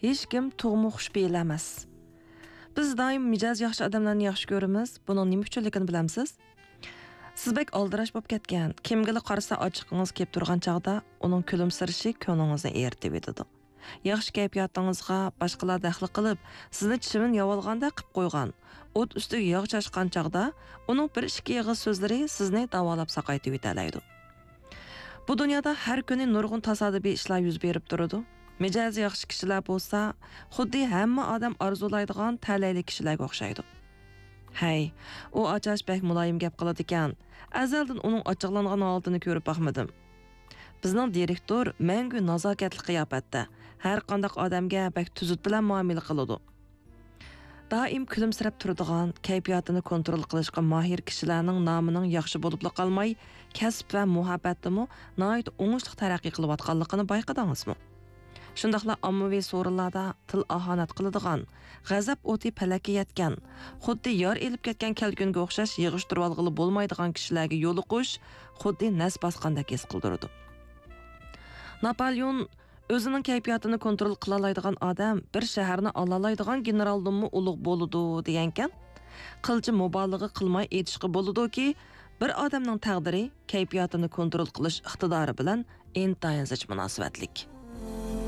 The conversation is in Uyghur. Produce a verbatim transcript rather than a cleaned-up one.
ھېچكىم تۇغما خۇش پېئىل ئەمەس. بىز دائىم مىجەزى ياخشى ئادەملەرنى ياخشى كۆرىمىز. بۇنىڭ نېمە ئۈچۈنلۈكىنى بىلەمسىز؟ سىز بەك ئالدىراش بولۇپ كەتكەن، كىمگىلا قارىسا ئاچچىقىڭىز كېلىپ تۇرغان چاغدا ئۇنىڭ كۈلۈمسىرىشى كۆڭلىڭىزنى ئېرىتىۋېتىدۇ. ياخشى كەيپىياتىڭىزغا باشقىلار دەخلى قىلىپ، سىزنى چىۋىن ياۋالغاندەك قىپ قويغان، ئوت ئۈستىگە ياغ چاچقان چاغدا ئۇنىڭ بىر ئىككى ئېغىز سۆزلىرى سىزنى داۋالاپ ساقايتىۋېتەلەيدۇ. بۇ دۇنيادا ھەر كۈنى نۇرغۇن تاسادىپىي ئىشلار يۈز بېرىپ تۇرىدۇ. مىجەزى ياخشى كىشىلەر بولسا، خۇددى ھەممە ئادەم ئارزۇلايدىغان تەلەيلىك كىشىلەرگە ئوخشايدۇ. ھەي، ئۇ ئاچاش بەك مۇلايىم گەپ قىلىدىكەن. ئەزەلدىن ئۇنىڭ ئاچچىقلانغان ھالىتىنى كۆرۈپ باقمىدىم. بىزنىڭ دىرېكتور مەڭگۈ نازاكەتلىك قىياپەتتە، ھەر قانداق ئادەمگە بەك تۈزۈت بىلەن مۇئامىلە قىلىدۇ. دائىم كۈلۈمسىرەپ تۇرىدىغان، كەيپىياتىنى كونترول قىلىشقا ماھىر كىشىلەرنىڭ نامىنىڭ ياخشى بولۇپلا قالماي، كەسىپ ۋە مۇھەببەتتىمۇ ناھايىتى ئوڭۇشلۇق تەرەققىي قىلىۋاتقانلىقىنى بايقىدىڭىزمۇ؟ شۇنداقلا ئاممىۋى سورۇنلاردا تىل ئاھانەت قىلىدىغان، غەزەپ ئوتى پەلەككە يەتكەن، خۇددى يار ئېلىپ كەتكەن كەلكۈنگە ئوخشاش يىغىشتۇرۇۋالغىلى بولمايدىغان كىشىلەرگە يولۇقۇش خۇددى نەس باسقاندەك ھېس قىلدۇرىدۇ. ناپالېئون ئۆزىنىڭ كەيپىياتىنى كونترول قىلالايدىغان ئادەم بىر شەھەرنى ئالالايدىغان گېنېرالدىنمۇ ئۇلۇغ بولىدۇ دېگەنكەن. قىلچە مۇبالىغە قىلماي ئېيتىشقا بولىدۇكى، بىر ئادەمنىڭ تەقدىرى كەيپىياتىنى كونترول قىلىش ئىقتىدارى بىلەن ئىنتايىن زىچ مۇناسىۋەتلىك.